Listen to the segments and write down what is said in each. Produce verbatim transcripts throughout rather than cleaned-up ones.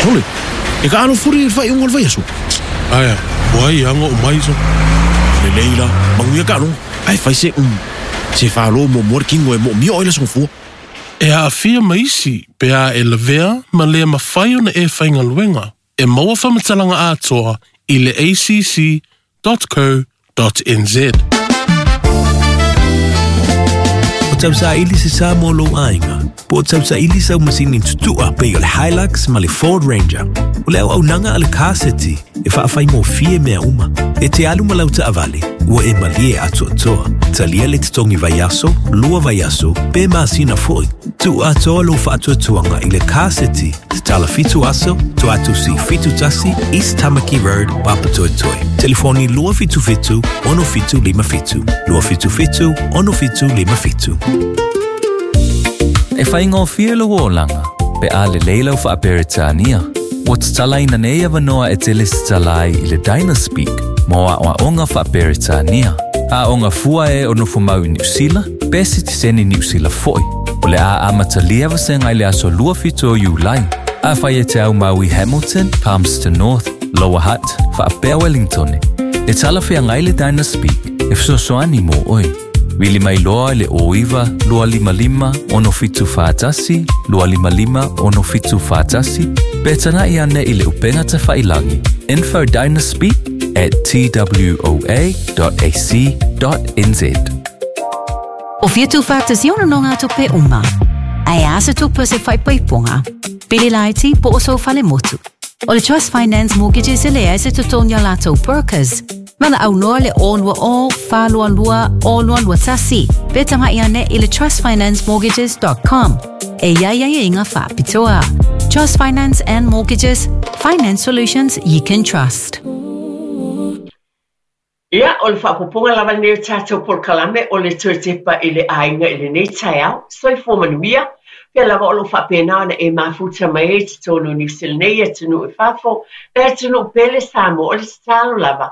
Sole, e ka alofuri i le faaiuga o le vaiaso. Ae a, ua ai aga o mai so. Lelei la, manuia taaloga, ae fai se um, se falo muamua le tino e moomia ai le aso gafua. E aafia ma isi pe a e lavea ma le mafai ona e faigaluega. E maua faamatalaga atoa i le A C C dot co dot N Z. O tausaili se sa mo lou aiga, po o tausaili sau masini tutua pei o le Hilux ma le Ford Ranger. O le auaunaga a le Car City e faafaigofie mea uma. E te alu ma lau taavale, ua e malie atoatoa. Talia le totogi vaiaso, lua vaiaso, pe masina foi. Tuu atoa lou faatuatuaga i le Car City, tatala fitu aso, Tuatusi fitu tasi, East Tamaki Road, Papatoetoe. Telefoni lua fitu fitu, ono fitu lima fitu. Lua fitu fitu, ono fitu lima fitu. E whaingofie lo olaga, pe a le leila o whaaperetania. Ua tatalaina nei avanoa e te lesitalai i le Dynaspeak mo aoaoga faaperetania. Aoga fua e o nofomau i Niu Sila, pe sitiseni Niu Sila foi. O le a amatalia vasega i le aso lua fito o Iulai. A whai e te au mau i Hamilton, Palmerston North, Lower Hutt, faapea Wellington. E talawhea ngai le Dynaspeak e fesoasoani mo oe. Vili mai loa i le o iwa, lua lima lima, ono fitu whātasi, lua lima lima, ono fitu whātasi, pe tana i ane i le upenga te whailangi. Info dynaspeak at t w o a dot a c dot n z. O whitu whātasi ono no ngā tupe uma. Ai a se tupe se whaipaiponga. Pili laiti po o so whale motu. O le Trust Finance Mortgages e lea se tutonia lātou brokers. Mana au noa le o lua o, wha lua lua, o lua lua tasi. Pe tanga ia ne i le trust finance mortgages dot com. E ia ia ia inga whapitoa. Trust Finance and Mortgages, finance solutions you can trust. Ia, o le faapopoga lava lenei o tatou polokalame o le toe tepa i le aiga i lenei taeao, soifua manuia, pea lava o loo faapena ona e mafuta mai ai totonu o Niu Sila nei, atunuu i fafo, le atunuu pele Samoa, o le tatalo lava.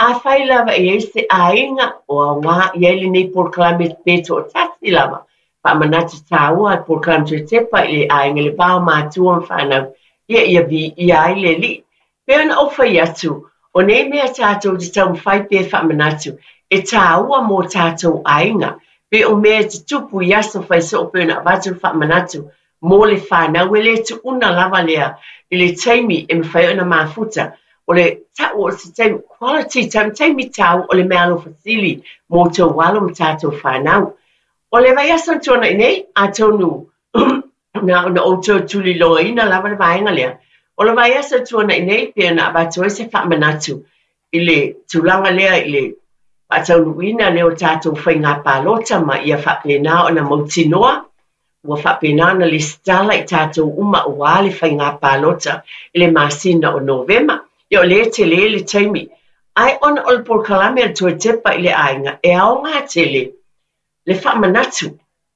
Afai lava e ai se aiga o aogā i ai lenei polokalame pe toatasi lava. Faamanatu tāua le polokalame toe tepa i le aiga le va o matua ma fanau, ia ia viia ai le Alii. Pei ona ou fai atu, o nei mea tātou te taumafai pe faamanatu, e tāua mō tātou aiga. Pe o mea te tupu i aso fai soo pe ona avatu le faamanatu mō le whanau e le tuuna lava lea i le taimi e mawhai ona mafuta. O le tau o se taimi, quality time, taimi tau o le mea alofa sili mō tō walo ma tātou whanau. O le vaiaso tuana i nei, a tonu na ona outou tuliloaina lava le vaega lea. O le vaiaso tuana i nei, pe ona avatu ai se faamanatu i le tulaga lea i le faataunuuina lea o tātou faiga palota ma ia faapena ona mautinoa, ua faapena ona lesitala i tātou uma auā le faiga palota i le masina o Novema. Ia o lea tele le taimi. Ae ona o le polokalame a le toe tepa i le aiga, e aogā tele le faamanatu,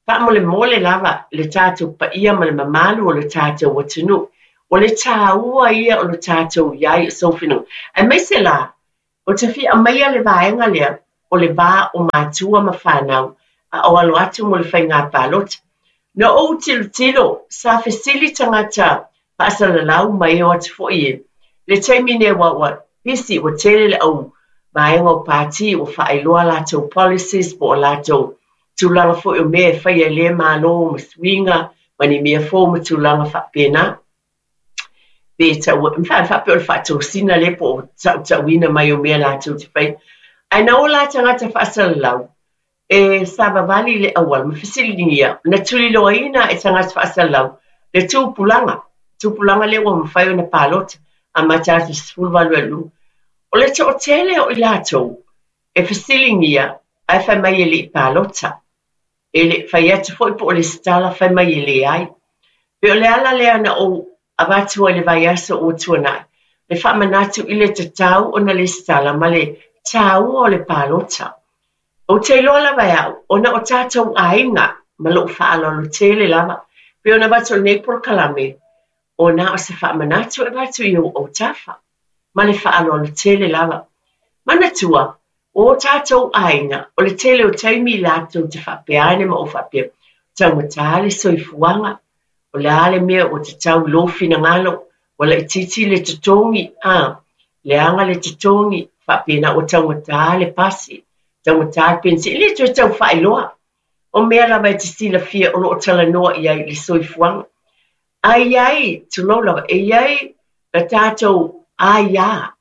faamolemole lava le tātou paia ma le mamalu o le tātou atunuu. O le tāua ia o le tātou iai o sofinunga. Aemaise la, o te fia aumaia le vaega lea o le va o matua ma fanau, a o alo atu mo le faiga palota. Na ou tilotilo, sa fesili tagata faasalalau mai o atu foi e. Le taimi nei ua ua pisi ua tele le au vaega o pāti ua faailoa latou policies po o latou tulaga foi o mea e faia i le malo ma suiga ma ni mea fou ma tulaga faapena. Pe tau, mawhai whape o le whaatosina le po o tautauina mai o mea latou te whai. Ae na o la tagata faasalalau, e savavali le auala, ma fesiligia, na tuliloaina e tagata faasalalau, le tupulaga, tupulaga lea ua mafai ona palota, amata atu sefulu valu e lua. O le toatele o i latou, e fesiligia, ae fai mai e lei palota. E le fai atu foi po o le setala fai mai e leai. Pe o le ala lea na ou avatu ai le vaiaso ua tuanai. Le faamanatu i le tatau ona le setala ma le tāua o le palota. O te iloa lava e au, ona o tātou aiga ma lou faaaloalo tele lava. Pe ona avatu o lenei polokalame, ona o se faamanatu e avatu i ou autafa. Ma le faaaloalo tele lava. Manatua, o tātou aiga, o le tele o taimi i latou te faapeane ma o faapea, taumatā le soifuaga, o le a le mea o te tau i lou finagalo, Ua laitiiti le totogi, a leaga le totogi, faapena ua taugata le pasi, taugata le penisini, e le toe tau faailoa. O mea lava e te silafia o lo o talanoa i ai i le soifuaga. Ae i ai, tulou lava, e i ai la tatou aia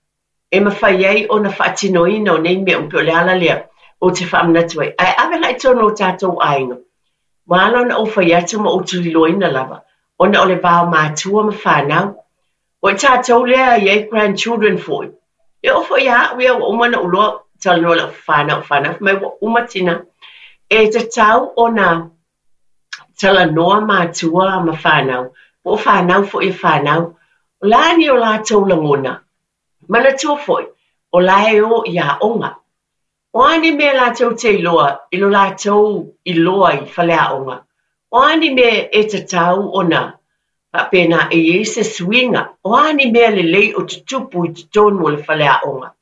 e mafai ai ona faatinoina o nei mea uma, pei o le ala lea ou te faamanatu ai. Ae ave la i totonu o tatou aiga, ua ala ona ou fai atu ma ou tuliloaina lava, ona o le va o matua ma fanau. O i tatou lea e i ai grandchildren foi. E oo foi ia au ia ua uma ona ou iloa talanoa i lau fanau fanau, fai mai ua uma tina. E tatau ona talanoa matua ma fanau, po o fanau foi e fanau. O le a ni o latou lagona? Manatua foi, o la e o i aoga. O a ni mea latou te iloa i lo latou iloa i faleaoga? O a ni mea e tatau ona faapena e i ai se suiga? O a ni mea lelei o tutupu i totonu o le faleaoga?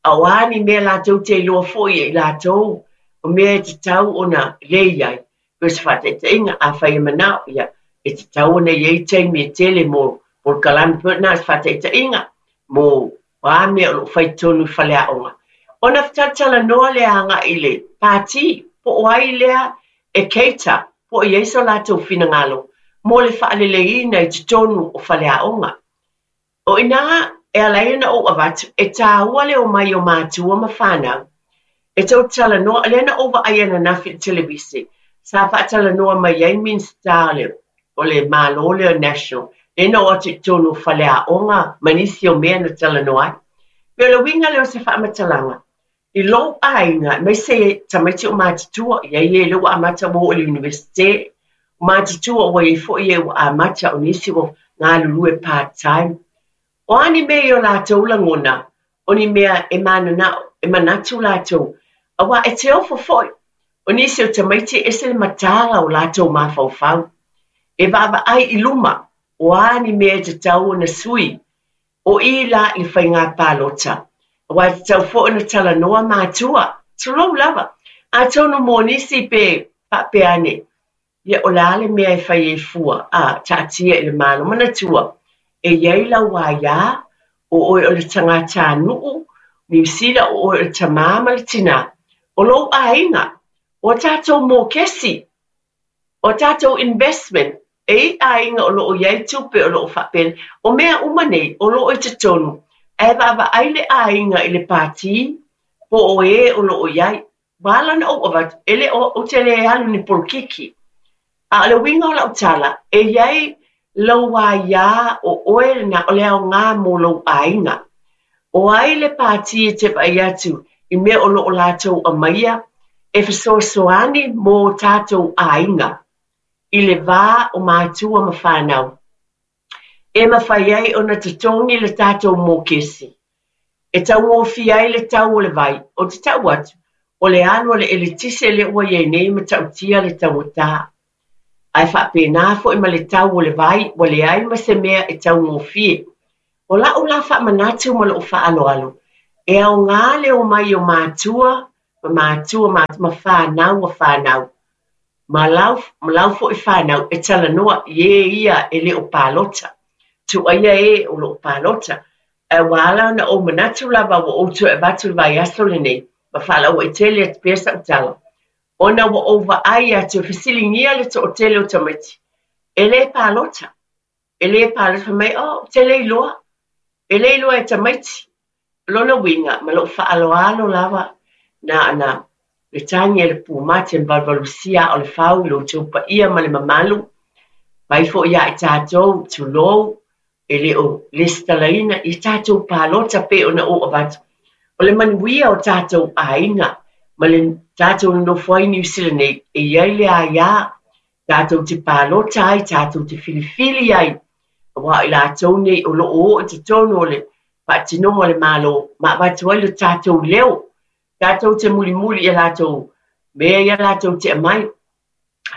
A o a ni mea latou te iloa foi e i latou o mea e tatau ona lei ai? Pei o se faataitaiga, afai e manao, ia, e tatau ona i ai taimi e tele mo polokalame, pei na o se faataitaiga mo a mea o lo o fai i totonu i faleaoga. Ona talatalanoa lea agai i le pati, po o ai lea e cater, po o i ai so latou finagalo mo le faaleleiina i totonu o faleaoga. O i ina e ala ai ona ou avatu, e taua le omai o matua ma fanau. E tou talanoa, lea na ou vaai ananafi i le televise, sa faatalanoa mai ai Minisita o le Malo lea National, lea na oo atu i totonu o faleaoga ma nisi o mea na talanoa ai. Pei o le uiga lea o se faamatalaga, i lou aiga, aemaise tamaiti o matutua, i ai e lea ua amata ua oo i le Universite, o matutua ua i ai foi e ua amata o nisi ua galulue part time. O a ni mea i o latou lagona, o ni mea e mananao, e manatu latou, aua e te ofo foi. O nisi o tamaiti e ese le mataala o latou mafaufau. E vaavaai i luma, o a ni mea e tatau ona sui, o i la i le faiga palota. Aua e tatau foi ona talanoa matua, tulou lava. Atonu mo nisi pe faapea ane, ia o le a le mea e fai ai fua, a, taatia i le Malo. Manatua, e i ai lau aia, o oe o le tagatanuu, Niu Sila o oe o le tamā ma le tinā. O lou aiga, o a tatou mokesi, o a tatou investment, e i aiga o lo o i ai tupe o lo o faapena. O mea uma nei, o lo o i totonu, ae vaavaai le aiga i le pati, po o e o lo o i ai. Ua ala ona ou avatu, e le o, ou te le alu ni polokiki. A o le uiga o lau tala, e i ai lou aia o oe lena o le aoga mo lou aiga. O ai le pati e te vaai atu i mea o lo o latou aumaia e fesoasoani mo tatou aiga i le va o matua ma fanau, e mafai ai ona totogi le tatou mokesi, e taugofie ai le tau o le vai. Ou te tau atu, o le alu a le eletise lea ua i ai nei e matautia le taugata. Ae faapena foi ma le tau o le vai, ua leai ma se mea e taugofie. O lau la faamanatu ma lou faaaloalo, e aoga le omai o matua ma matua ma, ma fanau a fanau. Ma lau, ma lau foi fanau e talanoa i e ia e le o palota. Tuaia e o lo o palota. Ae ua ala ona ou manatu lava ua ou toe avatu le vaiaso lenei, ma faalauaitele atu pea sau tala. Ona ua ou vaai atu e fesiligia le toatele o tamaiti, e le palota. E le palota, fai mai, oh, ou te le iloa. E le iloa e tamaiti. Lona uiga, ma lou faaaloalo lava, na ona le tagi a le pumate ma valuvalusia aa o le fau i lo outou paia ma le mamalu, mai foi ia i tatou, tulou, e le o lesitalaina i tatou palota pei ona ou avatu. O le manuia o tatou aiga ma le tatou nonofo ai Niu Sila nei, e i ai le aia, tatou te palota ai, tatou te filifili ai, aua o i latou nei o lo o oo i totonu o le faatinoga o le Malo, ma avatu ai lo tatou leo, tatou te mulimuli i a latou mea ia latou te aumai,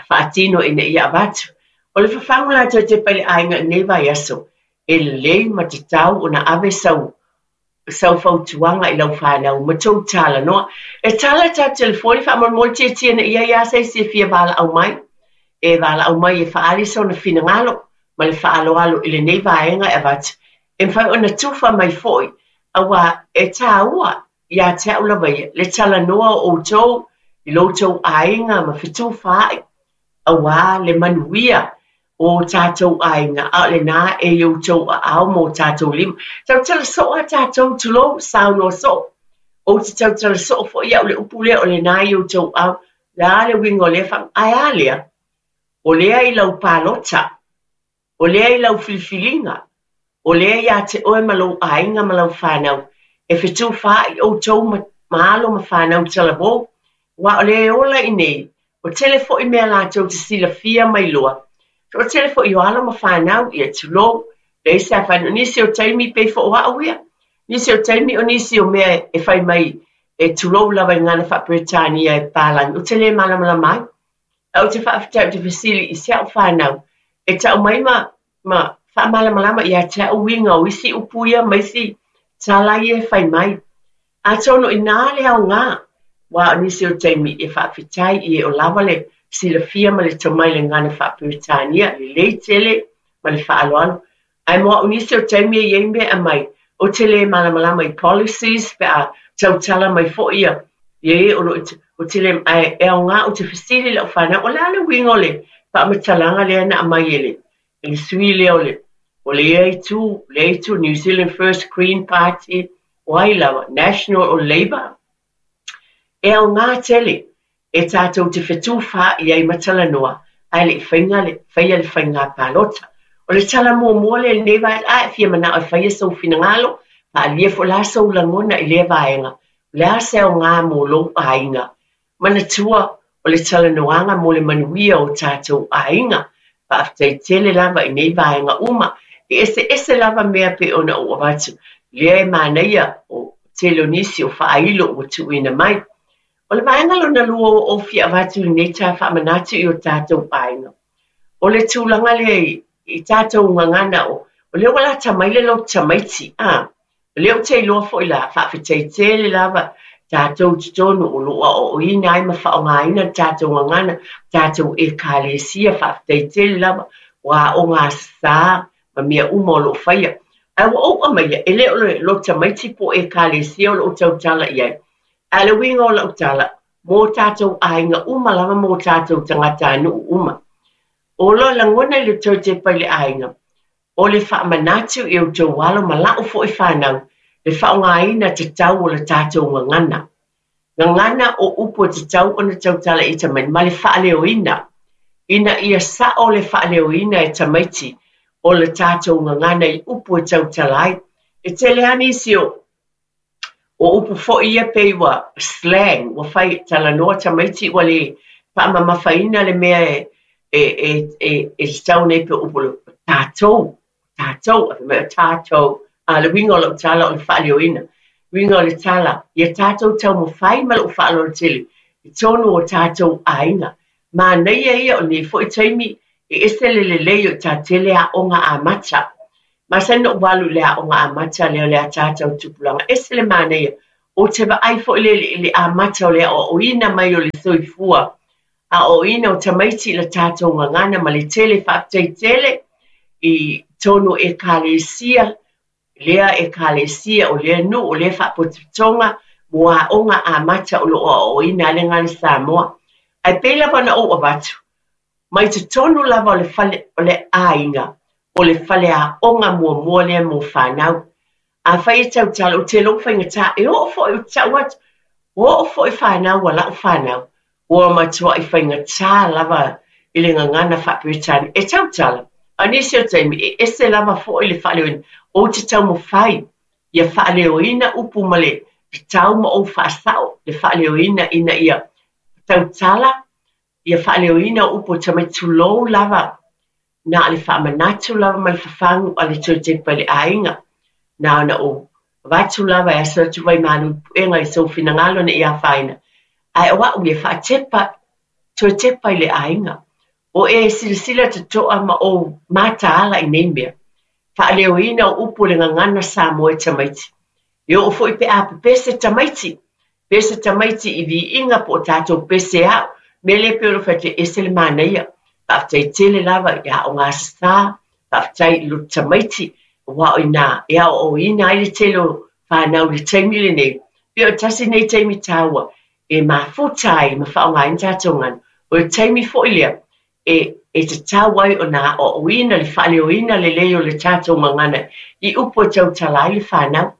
faatino ina ia avatu. O le fafagu latou te tepa i le aiga i lenei vaiaso, e lelei ma tatau ona ave sau sau fautuaga i lau fanau ma tou talanoa. E tala tatou telefoni faamolemole tietie ina ia i a se isi e fia valaau mai. E valaau mai e faaali sona finagalo. Ma le faaaloalo i lenei vaega e avatu e mafai ona tufa mai fo'i auā e tāua iā te a'u lava ia le talanoa o outou i lo outou aiga ma fetufaai auā le manuia o tatou aiga a o lenā e i outou aao ma o tatou lima. Tautala soo a tatou, tulou, saunoa soo. Ou te tautala soo fo'i au le upu lea o lenā i outou aao. Le a le uiga o lea faa ae a lea? O lea i lau palota, o lea i lau filifiliga, o lea iā te oe ma lou aiga ma lau fanau e fetufaai outou ma, ma alo ma fanau talavou, uā o le ola i nei, o tele fo'i mea latou te silafia ma iloa. O tele fo'i o alo ma fanau, ia tulou, leai se afaina. O nisi o taimi pei foi o a'u ia. Nisi o taimi o nisi o mea e fai mai e tulou lava i gagana faa-Peretania e palagi, ou te lē malamalama ai. Ae ou te faafetai ou te fesili i si a'u fanau e ta'u mai ma, ma faamalamalama iā te a'u uiga o isi upu ia ma isi tala ia e fai mai. Atonu inā le aogā, uā o nisi o taimi e faafetai i e o lava le silafia ma le tomai i le gagana faa-Peretania, lelei tele ma le faaaloalo. Ae mo a'u nisi o taimi e iai mea e aumai, ou te lē malamalama i policies pe a tautala mai fo'i ia ia e o loo ou te lē ae e aogā ou te fesili i la'u fanau o le a le uiga o le faamatalaga lea na aumai e le e le sui lea o le o lea itu lea itu New Zealand First, Green Party, o ai lava, National o Labour. E aogā tele e tatou te fetufaai ai ma talanoa ae le'i faiga le faia le faigā palota. O le tala muamua lea i lenei vaega, a e fia manao e faia sou finagalo, faaalia fo'i la sou lagona i lea vaega. O le a se aogā mo lou aiga? Manatua o le talanoaga mo le manuia o tatou aiga. Faafetai tele lava i nei vaega uma. E eseese lava mea pei ona ou avatu. Lea e manaia o tele o nisi o faailo ua tuuina mai. O le vaega lona lua ua ou fia avatu i lenei taeao faamanatu i o tatou aiga. O le tulaga lea i, i tatou gagana o, o lea ua lata mai le loto tamaiti. A, o lea ou te iloa fo'i la, faafetai tele lava tatou totonu o loo aoaoina ai ma faaaogaina le tatou gagana, tatou ekalesia, faafetai tele lava ua aoga sasā ma mea uma o loo faia. Ae ua ou aumaia, e le o le loto tamaiti po o ekalesia o loo tautala i ai. Ae le uiga o lau tala, mo tatou aiga uma lava mo tatou tagatanuu uma. O lo lagona i le toe tepa i le aiga, o le faamanatu i outou alo ma la'u fo'i fanau, le faaaogaina tatau o le tatou gagana. Gagana o upu e tatau ona tautala i tamaiti, ma le faaleoina. Ina ia sa'o le faaleoina e tamaiti o le tatou gagana i upu e tautala ai. E tele lava nisi o o upu fo'i ia pei ua slang, ua fai talanoa tamaiti ua lē faamamafaina le mea e e e e e tatau nei pe upu o tatou, tatou, ae fai mai o tatou. A le uiga o lau tala o le faaleoina. Uiga o le tala, ia tatou taumafai ma lou faaaloalo tele i totonu o tatou aiga. Manaia ia o lenei fo'i taimi e ese le lelei o i tatele aoga amata. Masani ona ou alu i le aoga amata lea o le ataata o tupulaga. Ese le manaia. Ou te vaai fo'i le, le amata o le aoaoina mai o le soifua. Aoaoina o tamaiti i le tatou gagana ma le tele faafetai tele i totonu o ekalesia, lea ekalesia o lea nuu o lea faapotopotoga mo aoga amata o loo aoaoina ai le gagana Samoa. Ae pei lava ona ou avatu, mai totonu lava o le fale o le aiga, o le faleaoga muamua lea mo fanau. Afai e tautala, ou te iloa ua faigata, e oo foi ou te tau atu, ua oo foi fanau a la'u fanau, ua matuai faigata lava i le gagana faa-Peretania. E tautala, a o nisi o taimi, e ese lava fo'i le faaleoina. Ou te taumafai ia faaleoina upu ma le tatau ma ou faasa'o le faaleoina ina ia tautala, ia faaleoina o upu o tamaiti tulou lava na o le faamanatu lava ma le fafagu a le toe tepa i le aiga. Na ona ou avatu lava e aso atu vaimalu i puega i sou finagalo ina ia afaina. Ae o a'u ia faatepa, toe tepa i le aiga. O e silasila toto'a ma ou mataala i nei mea. Faaleoina o upu o le gagana Samoa e tamaiti. E oo fo'i pe a pepese tamaiti. Pese tamaiti i viiga po o tatou pese a'u. Mea lea pei ona fai atu e ese le manaia. Faafetai tele lava i aoga sasā Faafetai i loto tamaiti, auā o iinā e aoaoina ai le tele o fanau i le taimi lenei. Pei o tasi nei taimi taua e mafuta ai ma faaaogaina tatou gagana. O le taimi foi lea e e tatau ai ona aoaoina le faaleoina lelei o le tatou gagana i upu e tautala ai le fanau.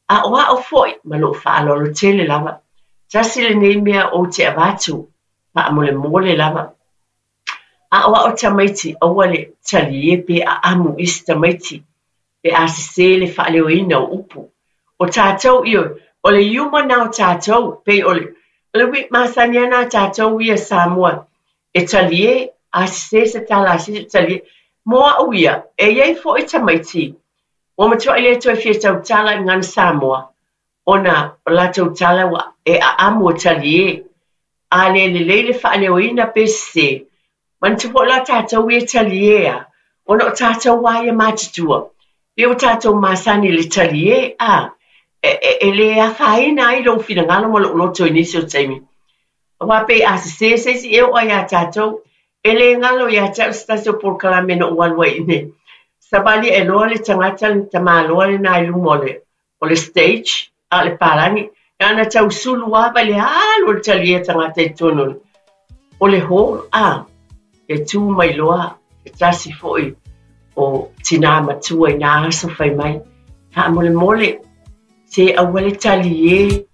Aoao foi ma lou faaaloalo tele lava. Tasi lenei mea ou te avatu faamolemole lava. Aoao tamaiti aua le talie pe aamu isi tamaiti pe a sesē le faaleoina o upu. O tatou ioe, o le iuma na o tatou, pei o le o le uiga masani lava na a tatou ia Samoa e talie, a sesē se tala a se isi e talie. Mo au ia, e i ai foi tamaiti ua matuai le toe fia tautala i gagana Samoa, ona o latou tala ua e aamu e talie. A le lelei le faaleoina pe sesē, manatua foi la tatou ia e talie a, ona o tatou lava ia matutua, pei ua tatou masani i le talie, a, e, e, e le afaina ai lou finagalo ma lou loto i nisi o taimi. Aua pei a sesē se isi e oo lava ia tatou, e le galo ia te au se tasi o polokalame na ou alu ai i inei. Savali ae loa le tagata le tamaloa lena i luma o le, o le stage, a o le palagi, na ona tau sulu lava i le alu o le talie a tagata i totonu o le, o le hall, a, e tu mai loa se tasi foi o tinā matua i nā aso fai mai, faamolemole, se aua le talie,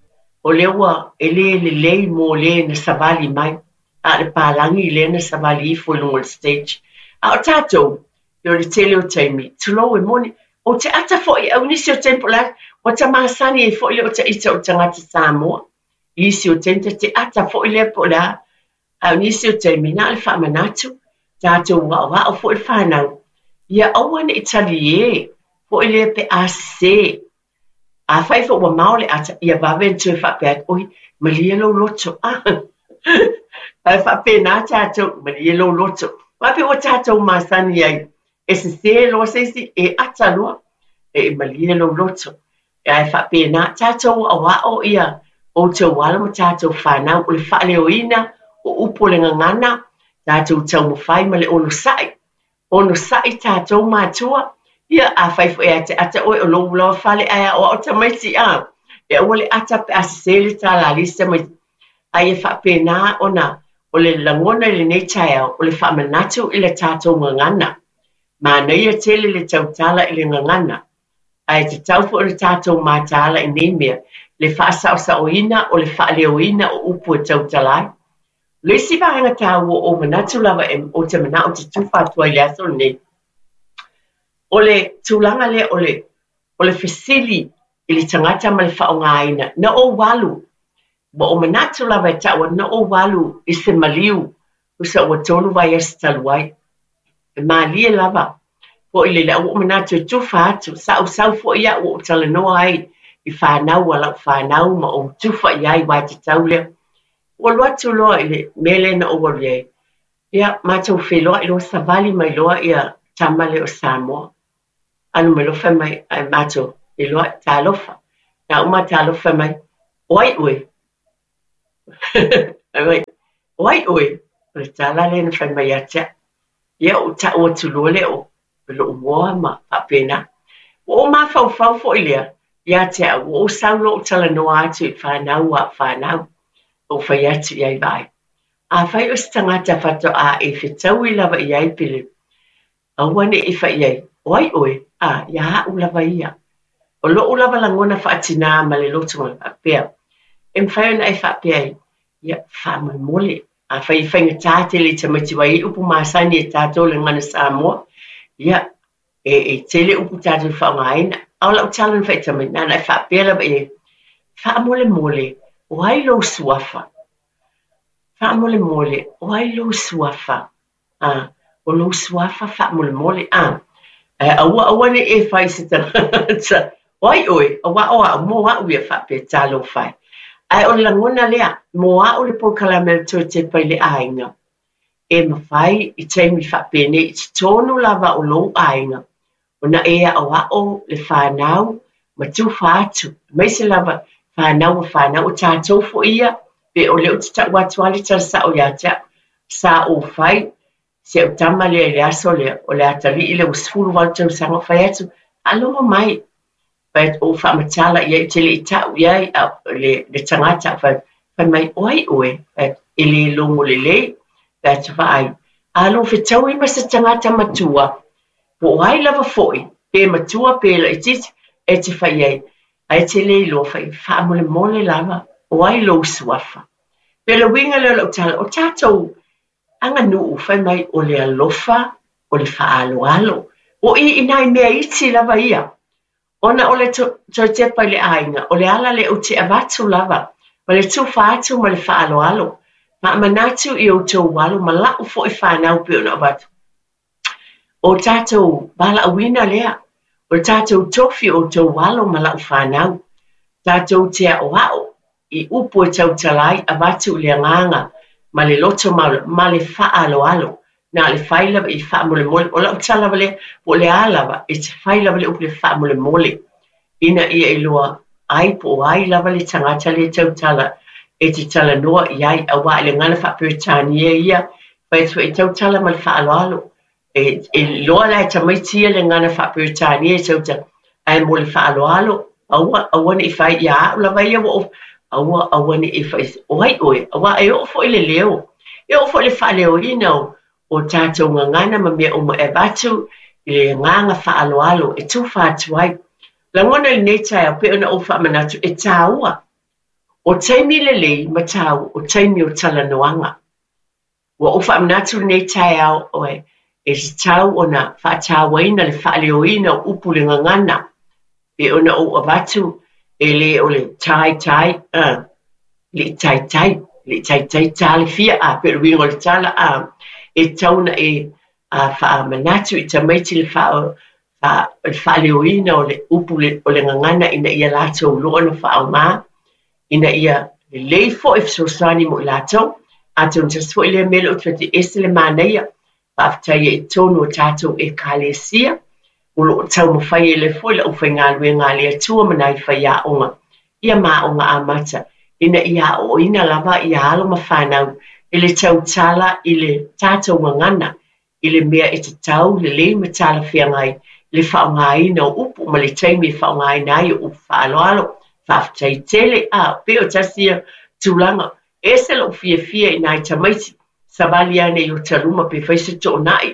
o lea ua e le lelei mo le na savali mai, a o le palagi lea na savali ifo i luga o le stage. A o tatou, e o le tele o taimi, tulou e moni, ou te ata foi au nisi o taimi po o le a, ua ta masani ai foi lea o taita o tagata Samoa. I isi o taimi ta te ata foi lea po o le a, a o nisi o taimi na o le faamanatu, tatou aoao foi le fanau, ia aua ne i talie foi lea pe a sesē. Afai foi ua mao le ata, ia vave ona toe faapea atu, oi, malie lou loto. Ah, ae faapena tatou, malie lou loto. Aua pei ua tatou masani ai, e sesē loa se isi, e ata loa, e malie lou loto. Ae faapena, tatou aoao ia outou alo ma tatou fanau, o le faaleoina o upu o le gagana, tatou taumafai ma le onosai. Onosai tatou matua, ia afai foi e te ata oe o lou lava fale ae aoao tamaiti, a, e aua le ata pe a sesē le tala a le isi tamaiti. Ae ia faapena ona o le lagona i lenei taeao, o le faamanatu i le tatou gagana. Manaia tele le tautala i le gagana, ae tatau foi ona tatou mataala i nei mea, le faasaosaoina o le faaleoina o upu e tautala ai. O le isi vaega taua o ou manatu lava e ou te manao ou te tufa atu ai i le aso lenei, o le tulaga lea o le, o le fesili i le tagata ma le faaaogaina. Na ou alu, ua ou manatu lava e taua, na ou alu i se maliu, tusa ua tolu vaiaso talu ai. E malie lava foi le ua ou manatu e tufa atu, sa ou sau foi au ua ou talanoa ai i fanau a lau fanau ma ou tufa i ai aua e tatau lea. Ua alu atu loa i le mea lea na ou alu i ai. Ia, matou feiloai loa, savali mai loa ia tama lea o Samoa. Alu mai loa fai mai, ae matou feiloai, talofa. Na uma talofa fai mai, o ai oe? Fai mai, o ai oe? O le tala lea na fai mai ia te au. Ia, ou tau atu loa lea o lou igoa ma faapena. Ua ou mafaufau foi lea ia te au, ua ou sau loa ou talanoa atu i fanau a fanau, ou fai atu i ai, vaai. Afai o se tagata faatoa e fetaui lava i ai pe le aua ne i fai i ai, o ai oe? A, ia au lava ia. O lou lava lagona faatinā ma le loto faapea, e mafai ona e faapea ai, ia, faamolemole. Afai e faigata tele i tamaiti aua e i ai upu masani e tatou le gagana Samoa, ia, e, e tele upu tatou te faaaogaina. A o lau tala na fai i tamaiti, na ona e faapea lava i ai, faamolemole, o ai lou suafa? Faamolemole, o ai lou suafa? A, o lou suafa faamolemole, a. Ae aua aua ne i e fai i se tagata, o ai oe? Aua o au, mo au ia faapea, talofa e. Ae o le lagona lea, mo au le polokalame a le Toe Tepa i le Aiga, e mafai i taimi faapenei i totonu lava o lou aiga, ona e aoao le fanau ma tufa atu, aemaise lava fanau a fanau, o tatou foi ia, pe o lea ou te tau atu lava le tala sao ia te au, sa ou fai Si au tama lea i le aso lea, o le atalii le ua sefulu valu tausaga fai atu, faalogo mai. Fai atu, ou faamatala i ai, te le i tau i ai a, le, le tagata, fai, fai mai, o ai oe, fai atu, e le logo lelei, fai atu vaai. A lou fetaui ma se tagata matua, po o ai lava foi, pe matua pe laitiiti, e te fai ai, ae te le iloa fai, faamolemole lava, o ai lou suafa. Pe le uiga lea o lau tala, o tatou aganuu fai mai o le alofa, o le faaaloalo. O i i nai mea iti lava ia. Ona o le toe tepa i le aiga, o le ala lea ou te avatu lava, ma le tufa atu ma le faaaloalo. Faamanatu i outou alo ma lau foi fanau pei ona avatu. O tatou valaauina lea, o le tatou tofi o outou alo ma lau fanau. Tatou te aoao i upu e tautala ai avatu i le agaga ma le loto ma, ma le faaaloalo. Na le fai lava i faamolemole. O lau tala lava lea, po o le a lava, e te fai lava le upu le faamolemole. Ina ia iloa ai po o ai lava le tagata le tautala e te talanoa i ai auā i le gagana faa-Peretania ia, fai atu e tautala ma le faaaloalo. E, e iloa la e tamaiti ia le gagana faa-Peretania e tautala, ae mo le faaaloalo, aua, aua ne i fai ia au lava ia ua ou, aua, aua ne i fai, o ai oe, auā e oo foi le leo, e oo foi le faaleoina o, o tatou gagana ma mea uma e avatu i le agaga faaaloalo e tufa atu ai. Lagona i lenei taeao pei ona ou faamanatu e tāua. O taimi lelei ma tāua, o taimi o talanoaga. Ua ou faamanatu lenei taeao oe, e tatau ona faatauaina le faaleoina o upu le gagana. Pei ona ou avatu e le o le tai tai, uh, le i taitai, le i taitai tā le fia, a pe o le uiga o le tala, a, e tatau ona e a, faamanatu i tamaiti le faa, faa, le faaleoina o le upu le, o le gagana ina ia latou iloa ona faaaoga, ina ia lelei foi fesoasoani mo i latou. Atonu tasi foi lea mea lea ou te fai atu, e ese le manaia, faafetai ai i totonu o tatou ekalesia, o loo taumafai ai lea foi le aufaigaluega a le Atua ma nai faiaoga, ia ma aoga amata, ina ia aoaoina lava ia alo ma fanau i le tautala i le tatou gagana, i le mea e tatau lelei ma talafeagai i le faaaogaina o upu ma le taimi e faaaogaina ai o upu faaaloalo. Faafetai tele, a pei o tasi ia tulaga. E ese lou fiafia i nai tamaiti, savali ane i Otaluma pe fai se toonai,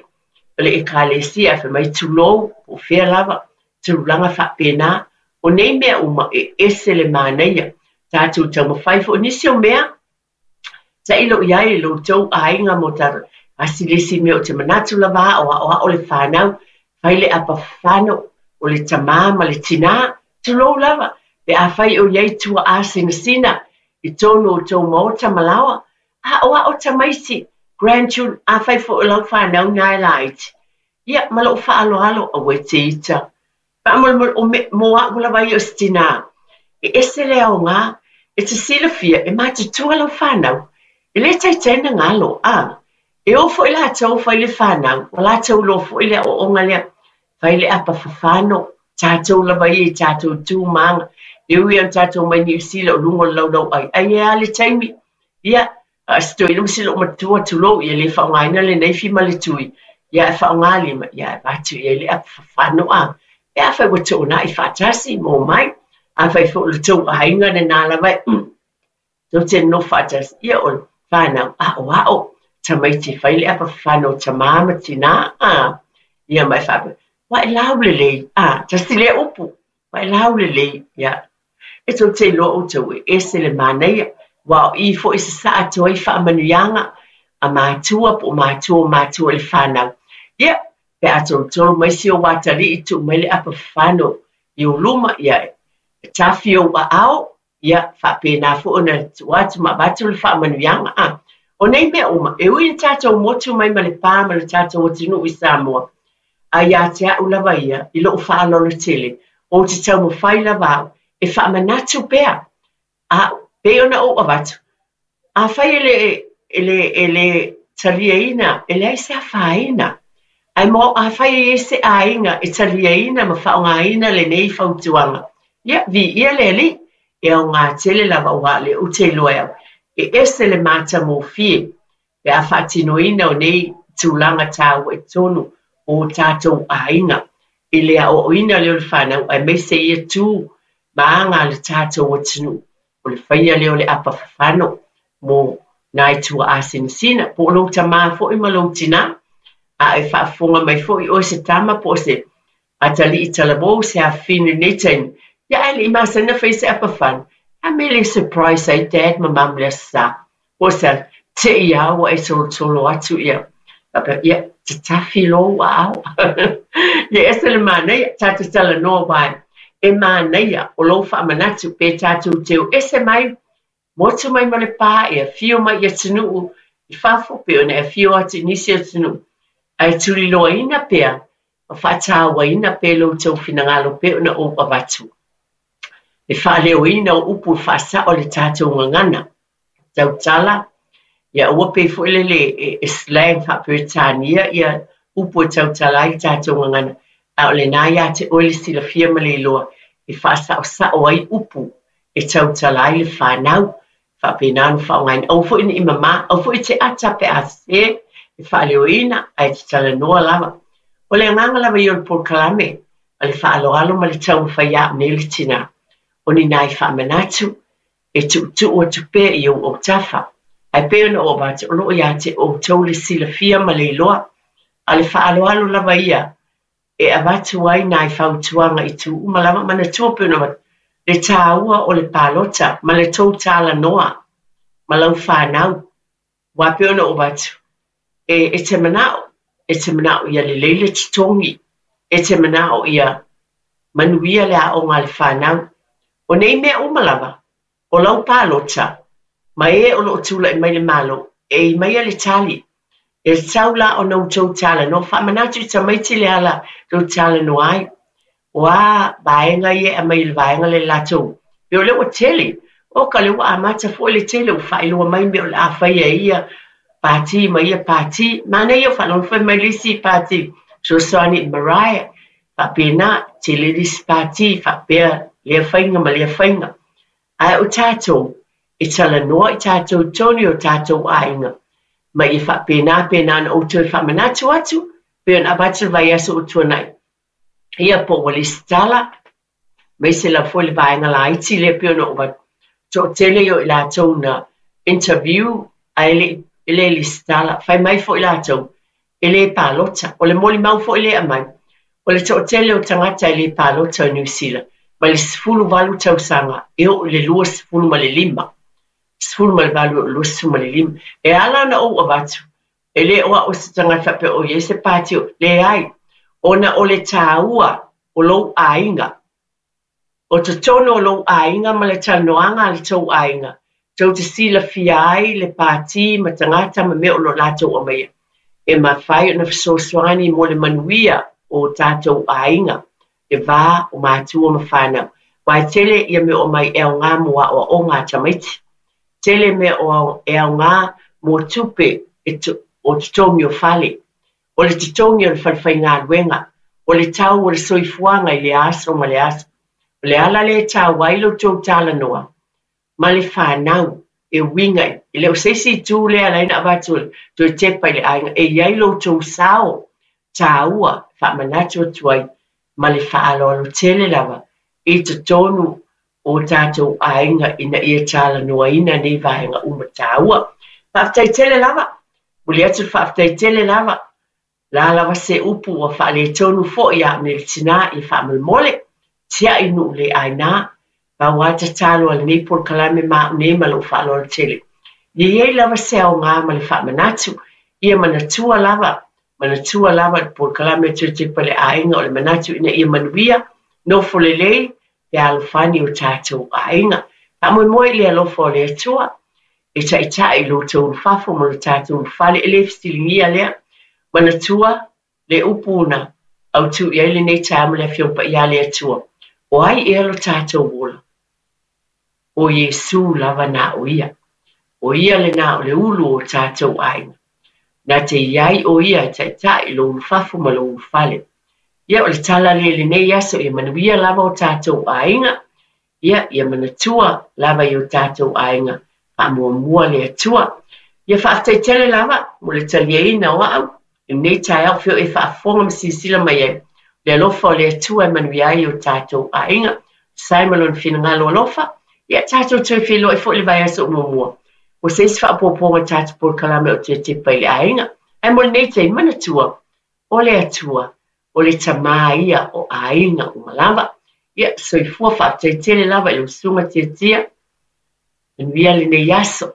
o le ekalesia, fai mai tulou, po o fea lava, tulaga faapena. O nei mea uma e ese le manaia. Tatou taumafai foi nisi o mea, tailo i ai i lo outou aiga mo tatou. Asi le isi mea ou te manatu lava ao aoao le fanau, fai le apafafano o le tamā ma le tinā, tulou lava, pe afai o i ai tuaa sinasina i totonu o outou maota ma laoa, aoao tamaiti, grandchildren, afai foi o lau fanau na e laiti. Ia, ma lou faaaloalo, aua e te ita. Faamolemole, o me, mo au lava ia o se tinā. E ese le aoga, e te silafia, e matutua lau fanau. E le taitai na galo, a. E o foi latou fai le fanau, o latou iloa foi le aoaoga lea, fai le apafafano, tatou lava ia i tatou tu ma aga. E ui ona tatou mai Niu Sila o luga o le laulau ai, ai e a le taimi. Ia, a se toeaina ma si lou matua tulou, ia le faaaogaina le naifi ma le tui, ia e faaaoga lima, ia e avatu i ai le apafafano a. E afai ua toonai faatasi mo mai, afai foi o le tou aiga lena lava e, mm, tou te nonofo faatasi, ia o le fanau aoao, tamaiti fai le apafafano o tamā ma tinā, a. Ia ma e faapea, ua e laulelei, a, tasi lea upu, ua e laulelei, ia. E tou te iloa outou e ese le manaia, ua o i foi sasaa atu ai faamanuiaga a matua po o matua o matua i le fanau. Ia, pe a tolotolo mai si ou atalii tuu mai le apafafano i ou luma, ia, e tafi ou aao, ia, faapena foi ona tuu atu ma avatu le faamanuiaga. A. O nei mea uma, e ui ina tatou motu mai ma le pā ma le tatou atunuu i Samoa, a ia te au lava ia, i lou faaaloalo tele, ou te taumafai lava au, e faamanatu pea, a pei ona ou avatu, afai e le, e le, e le taliaina, e leai se afaina. Ae mo afai e i ai se aiga e taliaina ma faaaogaina lenei fautuaga, ia, viia le Alii, e aoga tele lava auā lea ou te iloa e au, e ese le matagofie pe a faatinoina o nei tulaga tāua i totonu o tatou aiga i le aoaoina lea o le fanau aemaise ia tu ma aga a le tatou atunuu o le faia lea o le apa fafano mo nai tuaasinasina po o lou tamā foi ma lou tinā a e faafofoga mai foi oe se tama po o se atalii talavou se afafine i lenei taimi ia ae le'i masani ona faia se apa fafano a mea e le surprise ai dad ma mum i le Aso Sa po o se te'i lava ua e tolotolo atu ia faapea ia tatafi lou aao ia e ese le manaia tatou talanoa aua e manaia o lou faamanatu pe tatou teu ese mai motu mai ma le pa e afio mai i atunuu i fafo pe ona e afio atu i nisi o atunuu ae tuliloaina pea ma faatauaina pea lo outou finagalo pei ona ou avatu le faaleoina o upu e faasao le tatou gagana tautala ia aua pei foi lele e slang faa-Peretania ia upu e tautala ai tatou gagana a o lena ia te oe le silafia ma le iloa e faasaosao ai upu e tautala ai le fanau faapena ona faaaogaina aua foi ne i mamā aua foi e te ata pe a sese e faaleoina ae te talanoa lava o le agaga lava ia o le polokalame ma le faaaloalo ma le taumafai a'u nei le tinā o ni nai faamanatu e tuutuu atu pea i ou autafa ae pei ona ou avatu o loo iā te outou le silafia ma le iloa a o le faaaloalo lava ia e avatu ai nai fautuaga i tu uma lava manatua pei ona avatu le tāua o le palota ma le tou talanoa ma lau fanau aua pei ona ou avatu e e te manao e te manao ia lelei le totogi e te manao ia manuia le aoga a le fanau o nei mea uma lava o lau palota ma e o loo tula'i mai le Malo e i maia le tali e tatau la ona outou talanoa faamanatu i tamaiti le ala tou talanoa ai o a vaega ia e aumai i le vaega lea latou pei o lea ua tele o ka lea ua amata foi le tele ua faailoa mai mea o le a faia e ia pati ma ia pati manaia o faalogo fai mai le isi pati fesoasoani i Mariah faapena tele le isi pati faapea lea faiga ma lea faiga ae o tatou e talanoa i tatou totonu i o tatou aiga ma ia faapena pena ona outou toe faamanatu atu pei ona avatu le vaiaso ua tuanai ia po ua lesitala aemaise lava foi le vaega laiti lea pei ona ou avatu toatele ia o i latou na interview ae le e le lesitala fai mai foi latou e le palota o le molimau foi lea e aumai o le toatele o tagata e le palota o Niu Sila mai le sefulu valu tausaga e oo i le luasefulu ma le lima sefulu ma le valu e oo i le luasefulu ma le lima e ala ona ou avatu e le o a'u se tagata faapea o i ai se pati leai ona o le tāua o lou aiga o totonu o lou aiga ma le talanoaga a le tou aiga tou te silafia ai le pati ma tagata ma mea o lo o latou aumaia e mafai ona fesoasoani mo le manuia o tatou aiga le va o matua ma fanau aua e tele ia mea o aumai e aogā mo aoaoga a tamaiti tele mea o e aogā mo tupe e o totogi o fale o le totogi o le falefaigaluega o le tau o le soifuaga i le aso ma le aso o le ala lea e taua ai lo outou talanoa ma le fanau e uiga e le o se isi itu lea e ala ai ona avatu toe tepa i le aiga e i ai lo outou sao tāua faamanatu atu ai ma le faaaloalo tele lava i totonu o tatou aiga ina ia talanoaina nei vaega uma tāua. Faafetai tele lava, momoli atu le faafetai tele lava, la lava se upu ua faaletonu foi ia au nei le tinā ia faamolemole, tiai nuu le aina, pau lava tatalo a lenei polokalame ma au nei ma lou faaaloalo tele. Ia i ai lava se aoga ma le faamanatu, ia manatua lava, manatua lava le polokalame e toe tepa i le aiga o le manatu ina ia manuia, nofo lelei, pe alofani o tatou aiga. Faamoemoe i le alofa o le Atua e taitai i lo outou ulufafo ma lo tatou ulufale, e le fesiligia lea. Manatua le upu na autu i ai lenei taeao ma le Afioga Paia a le Atua. O ai ea lo tatou ola? O Iesu lava na o ia. O ia lena o le ulu o tatou aiga. Na te i ai o ia e taitai i lou ulufafo ma lou ulufale. Ia o le tala lea i lenei aso ia manuia lava o tatou aiga. Ia, ia manatua lava i o tatou aiga faamuamua le Atua. Ia faafetai tele lava mo le taliaina o au. I lenei taeao fea o e faafofoga ma silasila mai ai, le alofa o le Atua e manuia ai o tatou aiga, sai ma lona finagalo alofa, ia tatou toe feiloai foi le vaiaso o muamua. Ua se isi faaopoopoga tatou polokalame o toe tepa i le aiga. Ae mo lenei taimi manatua, o le Atua, o le Tamā ia o aiga uma lava. Ia, soifua faafetai tele lava i lau susuga Tiatia. Manuia lenei aso.